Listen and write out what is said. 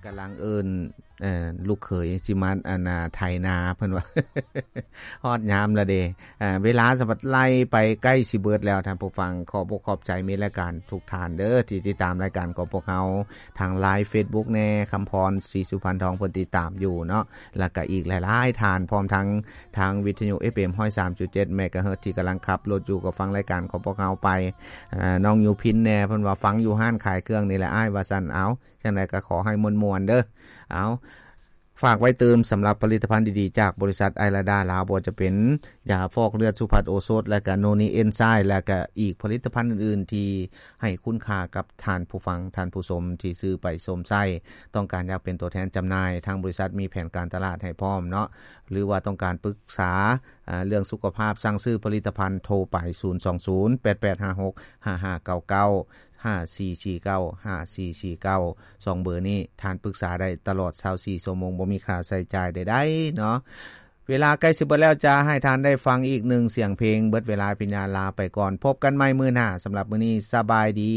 ກຳລັງເອີ້ນ ເອີ ລູກເຂີຍຊິມາ ອັນນ່າ ໄຖນາ ເພິ່ນວ່າ ຮອດຍາມລະເດ. ເອີ ເວລາສະບັດໄລ່ໄປໃກ້ຊິເບິດແລ້ວ ທ່ານຜູ້ຟັງ. ຂອບອົກຂອບໃຈມິດລາຍການທຸກທ່ານເດີ ທີ່ຕິດຕາມລາຍການຂອງພວກເຮົາ ທາງ Line Facebook ແດ່ ຄຳພອນ ສີສຸພັນທອງ ເພິ່ນຕິດຕາມຢູ່ເນາະ ແລ້ວກະອີກຫຼາຍໆທ່ານ ພ້ອມທັງທາງວິທະຍຸ ເອັຟເອັມ ຮ້ອຍສາມຈຸດເຈັດ ເມກາເຮີດ ທີ່ກຳລັງຂັບລົດຢູ່ ກໍຟັງລາຍການຂອງພວກເຮົາໄປ. ເອີ ນ້ອງຢູພິນແດ່ ເພິ່ນວ່າຟັງຢູ່ຮ້ານຂາຍເຄື່ອງນີ້ແຫຼະອ້າຍ ວ່າຊັ້ນ. ເອົາ ຈັ່ງໃດກໍຂໍໃຫ້ມ່ວນໆເດີ. ເອົາ ຝາກໄວ້ຕື່ມ ສຳລັບຜະລິດຕະພັນດີໆຈາກບໍລິສັດໄອລາດາລາວ ບໍ່ວ່າຈະເປັນຢາຟອກເລືອດສຸພັດໂອສົດ ແລະກະໂນນີເອັນໄຊ ແລະກະອີກຜະລິດຕະພັນອື່ນໆ ທີ່ໃຫ້ຄຸນຄ່າກັບທ່ານຜູ້ຟັງ ທ່ານຜູ້ຊົມທີ່ຊື້ໄປຊົມໃຊ້. ຕ້ອງການຢາກເປັນຕົວແທນຈຳໜ່າຍ ທາງບໍລິສັດມີແຜນການຕະຫຼາດໃຫ້ພ້ອມເນາະ ຫຼືວ່າຕ້ອງການປຶກສາ ເອີ ເລື່ອງສຸຂະພາບ ສັ່ງຊື້ຜະລິດຕະພັນ ໂທໄປ ສູນສອງສູນ ແປດແປດຫ້າຫົກ ຫ້າຫ້າເກົ້າເກົ້າ ຫ້າສີ່ສີ່ເກົ້າ ຫ້າສີ່ສີ່ເກົ້າ ສອງເບີນີ້ ທ່ານປຶກສາໄດ້ຕະຫຼອດຊາວສີ່ຊົ່ວໂມງ ບໍ່ມີຄ່າໃຊ້ຈ່າຍໃດໆເນາະ. ເວລາໃກ້ຊິເບິດແລ້ວ ຈະໃຫ້ທ່ານໄດ້ຟັງອີກໜຶ່ງສຽງເພງ. ເບິດເວລາພິນຍາລາໄປກ່ອນ ພົບກັນໃໝ່ມື້ໜ້າ. ສຳລັບມື້ນີ້ ສະບາຍດີ.